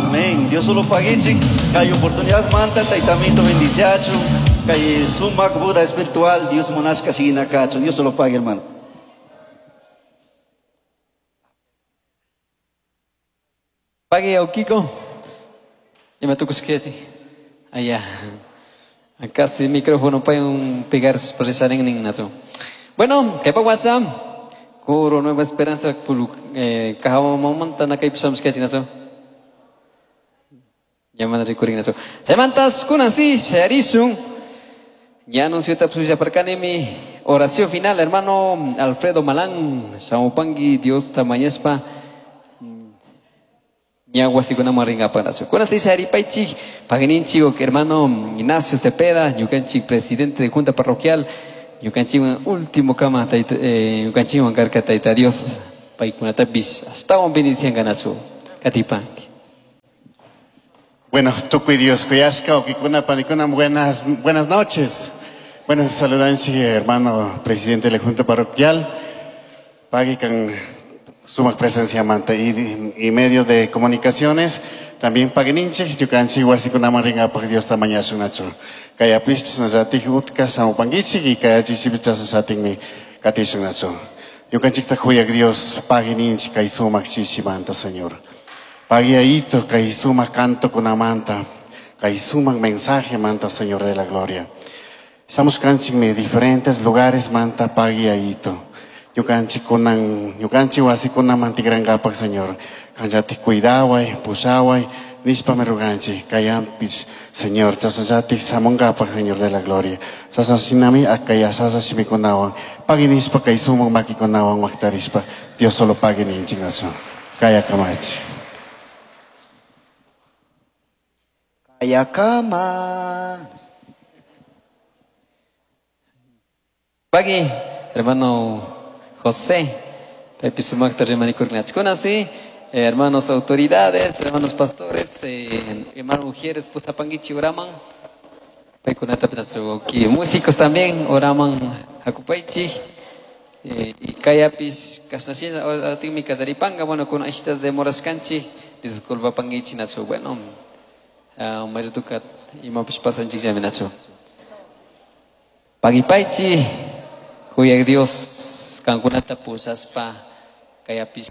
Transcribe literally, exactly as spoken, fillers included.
Amén. Dios solo paguichi. Kay oportunidad manta taitamito bendiciacho. Kay sumak Buda espiritual Dios monasca sigina cacho. Dios solo pague, hermano. Pague Kiko. Y me tocó allá. Acá sí micrófono para un pegar procesar en nazo. Bueno, ¿qué pasa? Coro Nueva Esperanza eh kahawa na kay pisam sketch nazo. Llaman recurring nazo. Semantas kunasi sharisun. Ya anunció tapsuya parkanemi oración final hermano Alfredo Malán, Shamupangi Dios tamañespa. Ñahuasikuna maringa panazo. Kunasi sharipaichi paganinchi hermano Ignacio Cepeda, ñukanchik presidente de junta parroquial. Ñukanchik último kama taita ñukanchik karka taita Dios paykunatapis astawan bendición ganachu katipanki. Bueno, tukuy Dios kuyashka okikuna panikuna buenas buenas noches. Bueno, saludanchi hermano presidente de la junta parroquial. Pagui kan sumak presencia manta y, y medio de comunicaciones. También paguininchi, ñukanchik wasikunaman rinkapak Dios tamañashun Kayapis chasnallatik utka shamupankichik y kayachisipis chasnallatikmi katishun nachu. Ñukanchikta huyak Dios paguininchik kay sumak chichimanta, Señor. Paguiaito kay sumak canto kunamanta, kay sumak mensaje manta, Señor de la gloria. Estamos kanchikmi diferentes lugares manta paguiaito. Ñukanchik kunan, ñukanchik wasikunaman tikrankapak, Señor. Kanllatik cuidaway, pushaway, nishpa me ruganchik, kayampich, Señor, chasnallatik shamunkapak, Señor de la gloria. Chasnashinami akayasasa shimikunawan, pagui nishpa kay sumak makikunawan waktarishpa, Dios solo pagui ninchik nachu. Kaya kamachi. Kayakama. Pagui, hermano José, Pepe Sumakta Remanikurgnachkunasi, hermanos autoridades, hermanos pastores, eh, hermano Ujieres, Pusapanguichi, Oraman, Paikunata Petachuki, músicos también, Oraman Hakupaichi, eh, y Kayapis, Kasnashina, Aratimi Kazaripanga, bueno, con Ashita de Morascanchi, disculpa Panguichi Nacho, bueno, Marituka, y Mapish Pasanchik Yaminacho. Pagipaichi, Huyak Dios, Kankunata pusaspa, Kayapis.